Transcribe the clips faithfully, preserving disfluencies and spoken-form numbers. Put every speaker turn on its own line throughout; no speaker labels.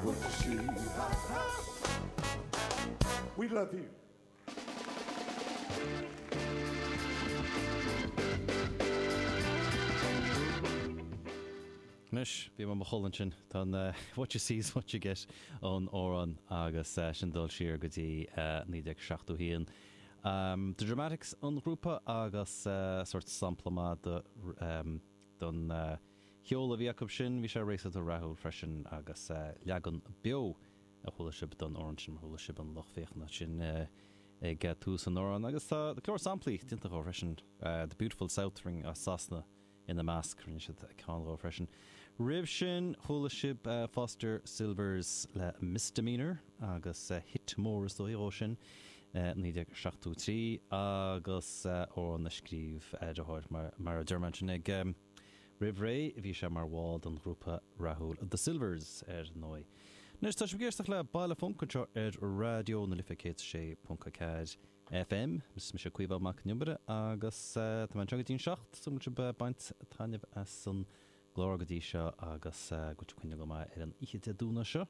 what you see. We love you.
Anois, bhí mé i mo chodladh ansin. Tá an What You See Is What You Get ón amhrán agus sin dul siar go dtí naoi déag seachtó haon. The Dramatics an grúpa agus sórt sampla maith don cheol a bhí acu sin. Bhí sé réasúnta rathúil freisin agus leagan beo a chuala sibh don amhrán sin, mar chuala sibh an lucht féachana sin ag tús an amhráin. Agus tá go leor samplaí déanta dhó freisin, The Beautiful South Ring as Sasana ina measc, rinne siad ceann dhó freisin. Roimh sin, chuala sibh Foster Sylvers le Misdemeanor agus hit mór is dóigh dhó sin, naoi déag seachtó trí, agus amhrán a scríobh a dheartháir, mar a deir mé ansin ag roimh ré, bhí sé mar bhall den ghrúpa rathúil The Sylvers ar ndóigh. Anois tá sibh ag éisteacht le Baile Func anseo ar Raidió na Life céad sé ponc a ceathair FM. Is mise Caoimhe Mac Con Iomaire agus tá mé anseo go dtí an seacht, súil agam go bhfuil sibh ag baint taitneamh as an gclár go dtí seo agus go bhfuil sibh ag coinneáil go maith ar an oíche Dé Domhnaigh seo.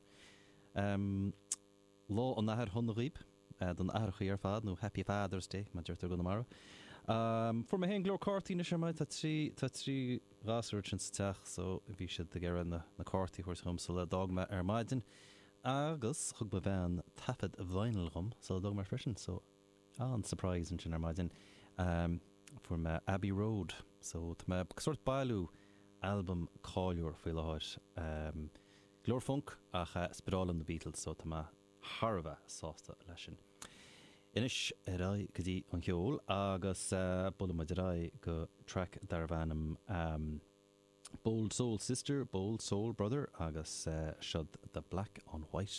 Lá an Athar shona dhaoib, don aithreachaí ar fad, nó Happy Father's Day mar a deirtear i gConamara. Fuair mé féin go leor cártaí anois ar maidin, tá trí, tá trí ghasúr ansin sa teach so bhí siad ag iarraidh na, na cártaí a thabhairt dhom sula d'fhág mé ar maidin agus thug mo bhean taifead vinyl dhom sula d'fhág mé freisin so an-surprise ansin ar maidin. Fuair mé Abbey Road so tá mé ag sórt bailiú albam cáiliúil faoi láthair. Go leor func ach sparálann na Beatles so tá mé thar a bheith sásta leis sin. Anois ar aghaidh go dtí an cheol agus buailfidh muid ar aghaidh go traic darbh ainm Bold Soul Sister, Bold Soul Brother agus seod The Black on White